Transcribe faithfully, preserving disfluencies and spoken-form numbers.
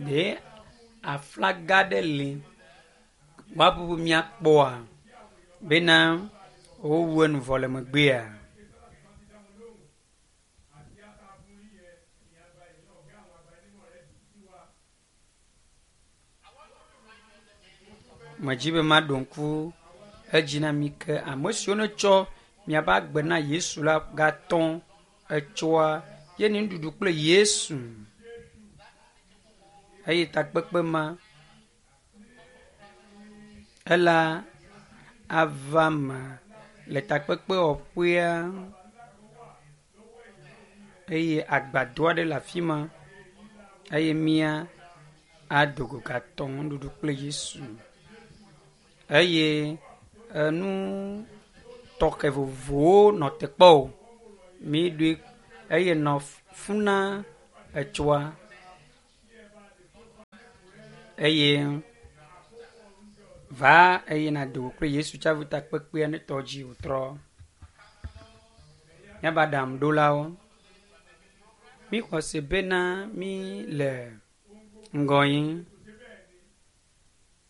Ɖe aflaga ɖe li woaƒuƒu miakpɔa bena wowu enu vɔ le megbea? Medzi be maɖo ŋku edzi na mi ke ame siwo netsɔ miaƒe agbe na Yesu la gatɔ etsɔa ye ni nuɖuɖu kple Yesu eye takpekpe ma ela ava me le takpekpewɔƒea eye agbadɔ aɖe le afi ma eye mía ado go gatɔ nuɖuɖu kple Yesu eye enu tɔxɛ vovovowo nɔ te kpɔ o. Miɖui eye nɔ funa na etsɔa eye va eye nàdo go kple Yesu tsaƒu takpekpea ne tɔ dzi wòtrɔ. Míaƒe aɖaŋuɖolawo, míxɔ se bena mí le ŋgɔ yim.